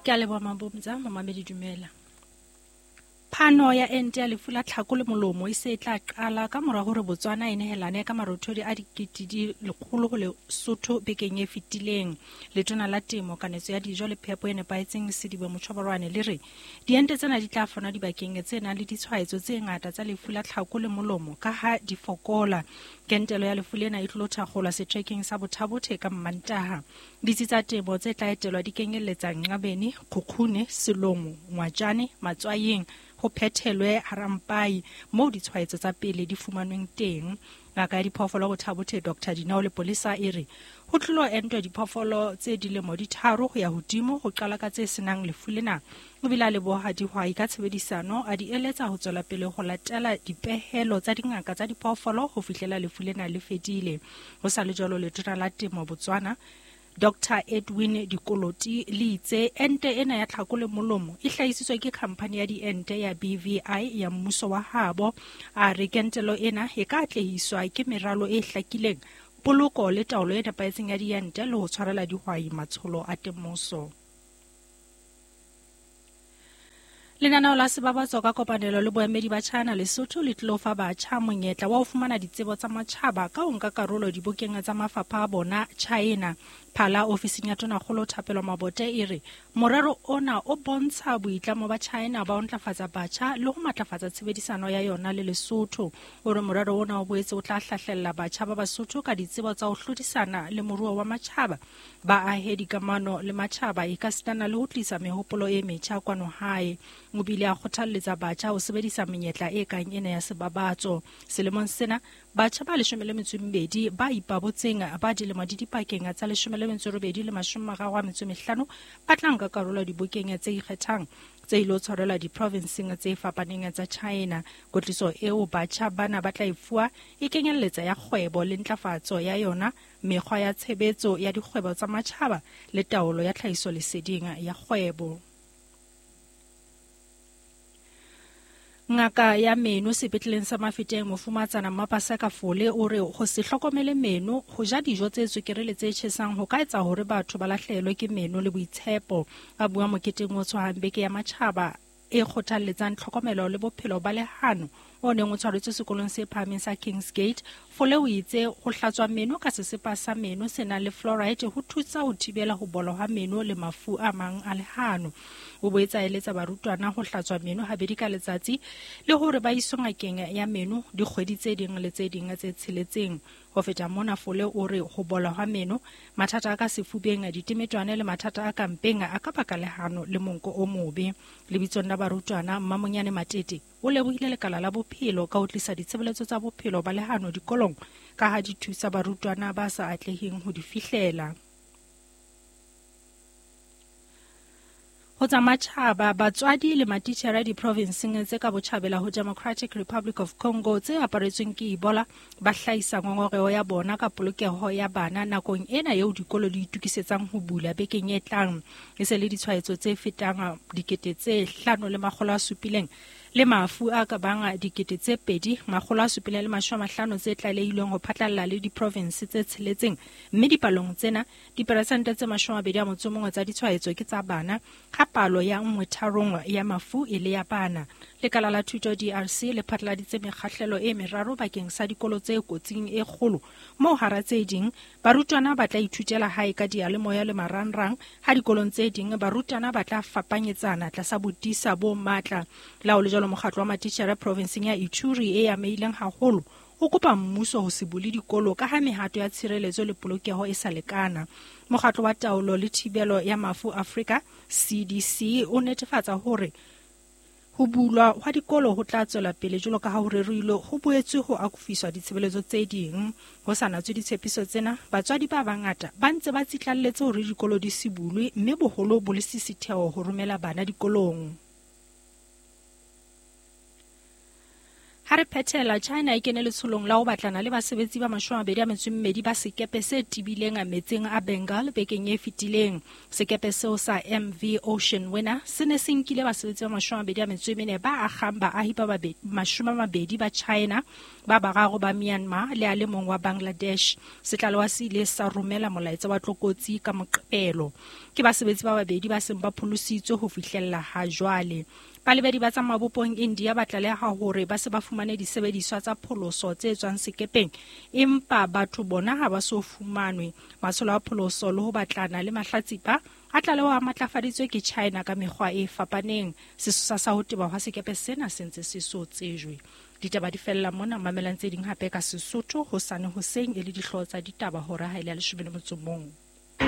Ke a leboha Mabomtsa, momamedi dumela. Phano ya ente ya lefu la tlhako le molomo e se e tla qala ka mora hore Botswana e nehelane ka marothodi a dikete di lekgolo ho Lesotho bekeng e fetileng. Letona la Temo, Kanetso ya Dijo le Phepo e Nepahetseng Sedibe Mochoborwane le re diente tsena di tla fanwa dibakeng tse nang le ditshwaetso tse ngata tsa lefu la tlhako le molomo ka ha di fokola. Kentelo ya lefu lena e tlilo thakgolwa setrekeng sa Bothabothe ka Mmantaha. Ditsi tsa temo tse tla etelwa di kenyelletsa Nqabeni, Kgukgune, Selomo, Ngwatjane, Matswayeng, ho phethelwe Harampai moo ditshwaetso tsa pele di fumanweng teng. Ngaka ya diphoofolo Bothabothe Dr. Dinao Lepolesa e re ho tlilo entwa diphoofolo tse dilemo di tharo ho ya hodimo ho qala ka tse senang lefu lena. O bile a leboha dihwai ka tshebedisano, a di eletsa ho tswela pele ho latela dipehelo tsa dingaka tsa diphoofolo ho fihlela lefu lena le fedile. Ho sa le jwalo, letona la temo Botswana Dr Edwin Dikoloti le itse ente ena ya tlhako le molomo e hlahisitswe ke khamphani ya diente ya BVI ya mmuso wa habo. A re kentelo ena e ka atlehiswa ke meralo e hlakileng, poloko le taolo e nepahetseng ya diente le ho tshwarela dihwai matsholo a temoso. Lenaneo la Sebabatso ka kopanelo le boemedi ba China Lesotho le tlilo fa batjha monyetla wa ho fumana ditsebo tsa matjhaba ka ho nka karolo dibokeng tsa mafapha a bona China. Phala ofising ya Tonakgolo Thapelo Mabote e re morero ona o bontsha boitlamo ba China ba ho ntlafatsa batjha le ho matlafatsa tshebedisano ya yona le Lesotho. O re morero ona o boetse o tla hlahlella batjha ba Basotho ka ditsebo tsa ho hlodisana le moruo wa matjhaba, ba ahe dikamano le matjhaba ekasitana le ho tlisa mehopolo e metjha kwano hae. O bile a kgothalletsa batjha ho sebedisa menyetla e kang ena ya sebabatso. Selemong sena, batjha ba 12 ba ipabotseng ba dilemo di dipakeng tsa 18 le 35 ba tla nka karolo dibokeng tse ikgethang tse ilo tshwarelwa diprovinseng tse fapaneng tsa China. Kwetliso eo batjha bana ba tla e fuwa e kenyelletsa ya kgwebo le ntlafatso ya yona, mekgwa ya tshebetso ya dikgwebo tsa matjhaba le taolo ya tlhahisoleseding ya kgwebo. Ngaka ya meno sepetleleng sa Mafeteng Mofumatsana Mmapaseka Fole o re ho se hlokomele meno, ho ja dijo tse tswekere le tse tjhesang ho ka etsa hore batho ba lahlehelwe ke meno le boitshepo. A bua moketeng o tshwahang beke ya matjhaba e kgothalletsang tlhokomelo le bophelo ba lehano o neng o tshwaretswe sekolong se phahameng sa Kings Gate. Fole o itse ho hlatswa meno ka sesepa sa meno se nang le fluoride ho thusa ho thibela ho bola ha meno le mafu a mang a lehano. O boetse a eletsa barutwana ho hlatswa meno habedi ka letsatsi le hore ba iswe ngakeng ya meno dikgwedi tse ding le tse ding tse tsheletseng. Ho feta mona, Fole o re ho bola hwa meno, mathata a ka sefubeng, ditemetwane le mathata a ka mpeng a ka baka lehano le monko o mobe. Lebitsong la barutwana, Mmamonyane Matete o lebohile lekala la bophelo ka ho tlisa ditshebeletso tsa bophelo ba lehano dikolong ka ha di thusa barutwana ba sa atleheng ho di fihlela. Ho tsa matjhaba, batswadi le matitjhere diprovinseng tse ka botjhabela ho Democratic Republic of Congo tse aparetsweng ke Ebola ba hlahisa ngongoreho ya bona ka polokeho ya bana nakong ena eo dikolo di itokisetsang ho bula bekeng e tlang. E se le ditshwaetso tse fetang 5700 le mafu a ka bang 2750 tse tlalehilweng ho phatlalla le diprovinse tse tsheletseng, mme dipalong tsena diperesente tse 21 tsa ditshwaetso ke tsa bana, ha palo ya 1/3 ya mafu e le ya bana. Lekala la thuto DRC le phatlaladitse mekgahlelo e meraro bakeng sa dikolo tse kotsing e kgolo, moo hara tse ding barutwana ba tla ithutela hae ka diyalemoya le marangrang, ha dikolong tse ding barutwana ba tla fapanyetsana tlasa bodisa bo matla. La ho le jwalo, mokgatlo wa matitjhere provinseng ya Ituri e amehileng haholo o kopa mmuso ho se bule dikolo ka ha mehato ya tshireletso le polokeho e sa lekana. Mokgatlo wa taolo le thibelo ya mafu Afrika CDC o netefatsa hore ho bulwa hwa dikolo ho tla tswela pele jwalo ka ha ho rerilwe, ho boetswe ho akofiswa ditshebeletso tse ding. Ho sa natswe ditshepiso tsena, batswadi ba bangata ba ntse ba tsitlalletse hore dikolo di se bulwe, mme boholo bo le sisitheho ho romela bana dikolong. Ha re phethela, China e kene letsholong la ho batlana le basebetsi ba 22 ba sekepe se tebileng metsing a Bengal bekeng e fetileng. Sekepe seo sa MV Ocean Winner se ne se nkile basebetsi ba 24 ba akgang baahi ba 20 ba China, ba bararo ba Myanmar le a le mong wa Bangladesh. Setlalewa se ile sa romela molaetsa wa tlokotsi ka Moqebelo. Ke basebetsi ba babedi ba seng ba pholositswe ho fihlella ha jwale. Balebedi ba tsa mabopong India ba tlaleha hore ba se ba fumane disebediswa tsa pholoso tse tswang sekepeng, empa batho bona ha ba so fumanwe. Matsholo a pholoso le ho batlana le mahlatsipa a tlaleho a matlafaditswe ke China ka mekgwa e fapaneng. Sesosa sa ho teba hwa sekepe sena se ntse se so tsejwe. Ditaba di fella mona, mamelang tse ding hape ka Sesotho hosane hoseng e le dihlooho tsa ditaba hora ha e le ya 11.